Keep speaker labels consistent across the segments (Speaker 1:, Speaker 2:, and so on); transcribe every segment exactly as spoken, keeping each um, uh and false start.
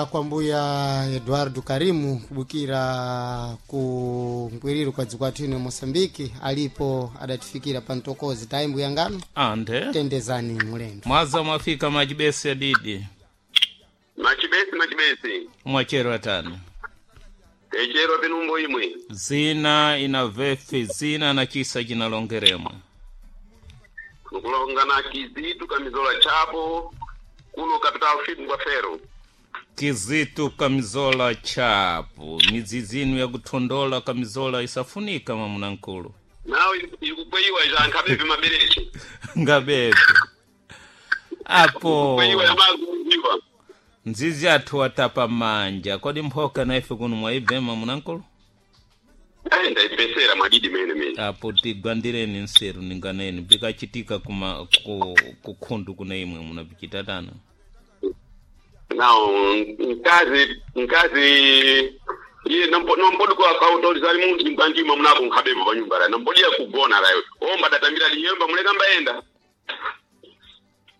Speaker 1: Kubukira kwa mbuya Eduardo Karimu, kubukira ku ngwiriro kwa dziko athu ino Moçambique, alipo adatifikira pa mtokozi. Tayi mbuya ngano,
Speaker 2: ande
Speaker 1: tendezani mulendo.
Speaker 2: Mwaza mwafika majibesi adidi.
Speaker 3: Machibesi, machibesi.
Speaker 2: Mwachero atani.
Speaker 3: Techero pinumbo imwe.
Speaker 2: Zina ina vefi zina na chisa chinalongeremwe.
Speaker 3: Nkulongana Kizitu Kamizola Chapo kuno capital fit kwa fero.
Speaker 2: Kizitu Kamizola Chapo, midzidzi inu yakuthondola kamizola isafunika mamuna nkulu.
Speaker 3: Nawe ikukweyiwa ija nkhabevi mabereche.
Speaker 2: Ngabepe apo.
Speaker 3: Kukweyiwa yamaguziwa.
Speaker 2: Nzizi athu atapa manja kodi mphoka na ife kuno mwaibve mamuna nkulu?
Speaker 3: Eh, ndaipesera mwadidi mene mene.
Speaker 2: Apo tigwandireni nseru ninganeni bikachitika kuma ku, kukhundu kuna imwe munapichitatana.
Speaker 3: Nawo nkazi nkazi iye nompo nompodi kwa kautolizali munthu mkanjima munapo nkhabevo pa nyumba la nompodiya kugona layo. Omba datambira liyemba muleka mbayenda.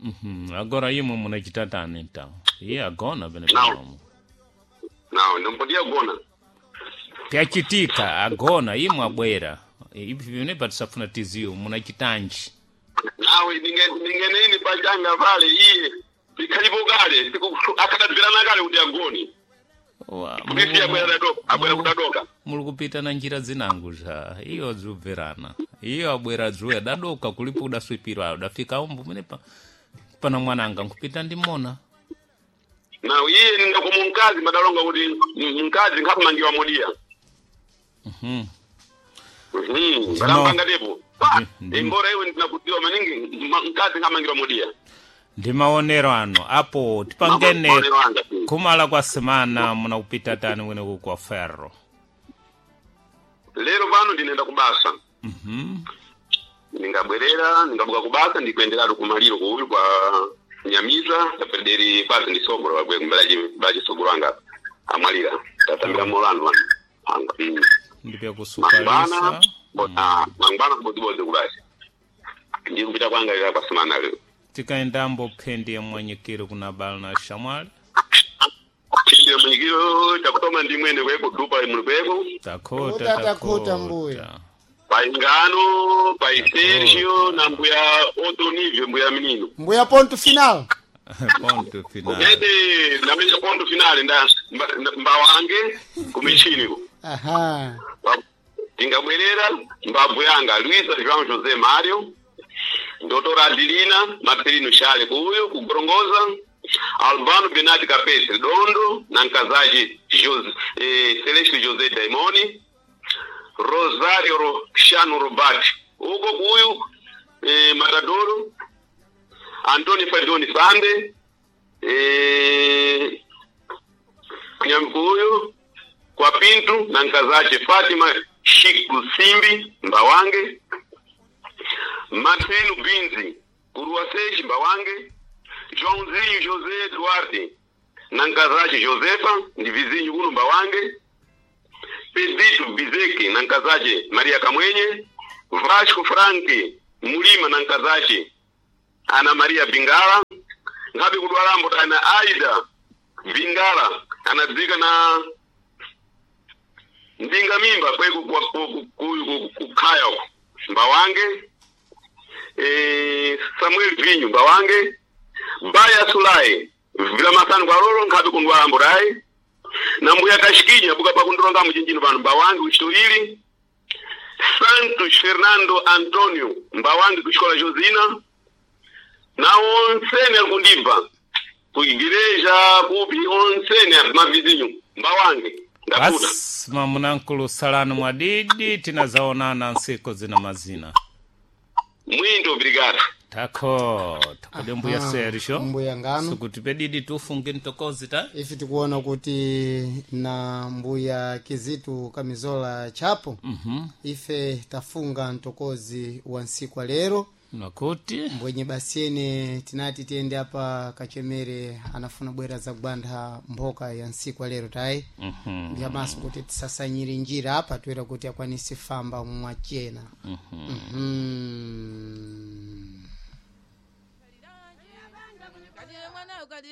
Speaker 2: Mhm, agora imwe munachitatani ntawo iye agona pene
Speaker 3: Nawo.
Speaker 2: panomo.
Speaker 3: Nawo nompodiya kugona.
Speaker 2: Pyachitika agona imwe abwera ivi vine patisafuna tiziwo munachitanji.
Speaker 3: Nawe ningeneini pachanga pale iye ikhalipo kale siku akadabvirana kale kuti agoni.
Speaker 2: Wa-
Speaker 3: Kuti abwera dadoka, abwera kudadoka.
Speaker 2: Muli kupita na njira zinangu zha iyo zubverana iyo abwera dzuya dadoka kulipo udaswipirwa udafika umbu mene pa pana mwananga nkupita ndimona.
Speaker 3: Nawe iye ningakomu mkazi madalonga kuti m- mkazi nkhakumangiwa modiya.
Speaker 2: Mhm.
Speaker 3: Mhm, badamupanga tepo. Pa,
Speaker 2: Ndi-
Speaker 3: imbora iwe ndinakutiwa maningi ma- mkazi nkhamangiwa modiya.
Speaker 2: Ndi maonero ano apo tipangene.
Speaker 3: Maonero anga.
Speaker 2: Kumala kwa semana munakupita tani kweneku kwa ferro?
Speaker 3: Lero pano ndinenda kubasa.
Speaker 2: Mhm.
Speaker 3: Ndingabwerera, ndingabuka kubasa ndikuenderatu kumaliro kuuyu kwa Nyamiza, tapederi pasi ndi sogolo wagwe kumbalaji baji sogolo anga amwalira. Tatambira molando wanu. Anga. Mm.
Speaker 2: Ndipya
Speaker 3: Mangwana,
Speaker 2: kusukalisa.
Speaker 3: bona mangwana kubodzibodzi kubasi. Ndikupita kwanga ila kwa semana lero.
Speaker 2: Tikaendambo phendi ya mwanyikiro kuna bala na shamwali.
Speaker 3: Chindiro mwenyikiro chakutoma ndi mwene kweko dupa imwe kweko.
Speaker 2: Takhota.
Speaker 1: Takhota, takhota mbuya.
Speaker 3: Paingano, pai Sergio na mbuya Otonivio mbuya minino.
Speaker 1: Mbuya ponto final.
Speaker 2: Ponto final.
Speaker 3: Ede ndamenya ponto finale nda mba- nda- mbawange kumichini ko.
Speaker 1: Aha.
Speaker 3: Ndingabwerera mbabvu yanga Luisa João José Mário, Doutor Adelina Marcelino Chale kuuyo kugorongoza, Albano Benati Capete Dondo na nkazaji Jose, eh, Celeste José Daimoni, Rosario Roxano Robati uko kuuyu eh, Matadoro, Antônio Fadoni Sande, eh, Nyamkuyu kwa Pintu na nkazache Fatima Shiku Simbi Mbawange, Marcelo Binzi Kuruaseji Mbawange, Joãozinho José Duarte na nkazache Josefa ndi vizinho kuno Mbawange, Pedrito Bizeke na nkazache Maria Kamwenye, Vasco Frank Mulima na nkazache Ana Maria Bingala, ngabe kudwalambo tana Aida Bingala anadzika na ndinga mimba kweku kwa- ku- ku- ku- ku- kukhaya uko Mbawange, eh, Samuel Vinyu Mbawange, Baya Sulai vila masanu kwa lolo nkhabe kundwalambo tayi na mbuya Kashikinya buka pakundilonga muchinjino pano Mbawange kuchitolili, Santos Fernando Antonio Mbawange kuchikola Josina na onsene akundibva kuigireja kupi onsene mavizinyu Mbawange ndakuta.
Speaker 2: Basi mamunankulu salani mwadidi tinazaonana nsiku zina mazina.
Speaker 3: Muito obrigado.
Speaker 2: Takhota kodi mbuya
Speaker 1: Aha,
Speaker 2: Sergio.
Speaker 1: mbuya ngano.
Speaker 2: Sikuti pedidi tufunge mtokozi ta.
Speaker 1: Ife tikuona kuti na mbuya Kizitu Kamizola Chapo.
Speaker 2: Mhm.
Speaker 1: Ife tafunga mtokozi wa nsiku wa lero.
Speaker 2: Nakuti
Speaker 1: Mbwenye basiene tinati tiyende apa kachemere anafuna bwera za gwanda mphoka ya nsiku wa lero tayi.
Speaker 2: Mhm.
Speaker 1: Ndiyamaso kuti tisasanyire njira apa toera kuti akwanise famba mwachena. Mhm.